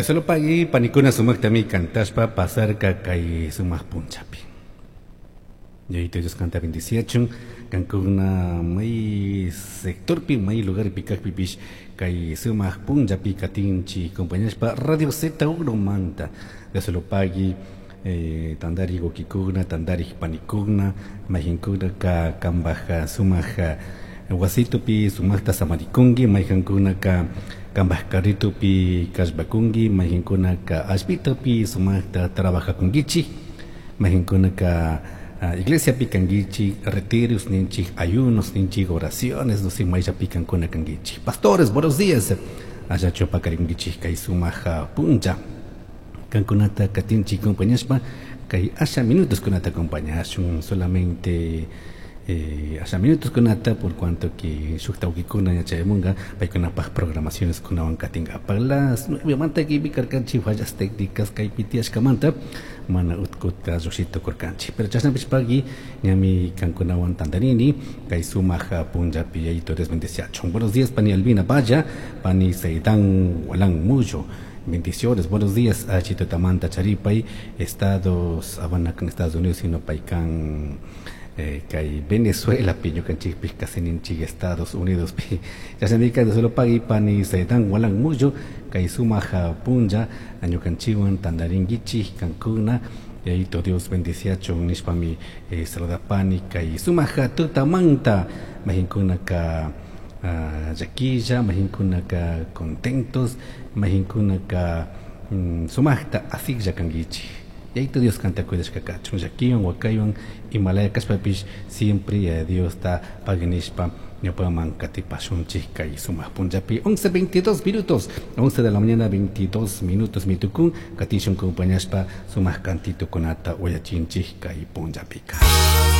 Dios lo pagui panikuna sumaqtami kantashpa pasarka kay sumaq punchapi. Yayito Dios kanta bendiciachun, kankuna may sectorpi, may lugarpi kaqpipish kay sumaq punchapi katinchi compañashpa Radio Z1 manta. Dios lo pagui tandari wawkikuna, tandari panikuna, mayqinkuna ka kambaj sumaq wasitupi sumaqta samarikunki, mayqankunaka kambaj carritupi kallpakunki, mayqinkunaka allpitapi sumaqta trabajakunkichik, mayqinkunaka iglesiapi kankichik, retiros ninchik, ayunos ninchik, oraciones, no sé, mayllapi kankuna kankichik. Pastores, buenos días. Allachu pakarinkichik kay sumaq puncha. Kankunata katinchik compañashpa kay asha minutos kunata acompañashun solamente asha minutos kunata por cuanto que shuk tawkikuna yachayamunga paykunapaj programaciones kunawan katinkapak las 9 manta kaypi karkanchik fallas técnicas kaypi tiyashkamanta mana utkuta llushita kurkanchik, pero chashnapishpaki ñami kankunawan tantarini kay sumaq punllapi. Yayito Dios bendeciachun. Buenos días, pani Albina Valla, pani Seidan Walan Muyo. Bendiciones, buenos días a Chito Tamanta Charipay, Estados, Habana con Estados Unidos, sino paycan kay Venezuela pi ñukanchikpi casi ninchik Estados Unidos pi. Chashnamika Dios lo pagui, pani Seidan Walan Muyo, kay sumaq punlla ñukanchikwan tantarinkichik kankuna. Yayito Dios bendiciachun nishpami saludapani kay sumaq tutamanta, mayqinkunaka llaquilla, mayqinkunaka contentos, mayqinkunaka sumaqta asiklla kankichik. Yayito Dios kanta cuidashka kachun, llakiwan wakaywan imalaya kashpapish siempre Diosta paginishpa ñawpaman katipashunchik kay sumaq punllapi. 11:22 minutos, 11 de la mañana 22 minutos mitukun, katishun compañashpa sumaq cantito kunata uyachinchik kay punllapika.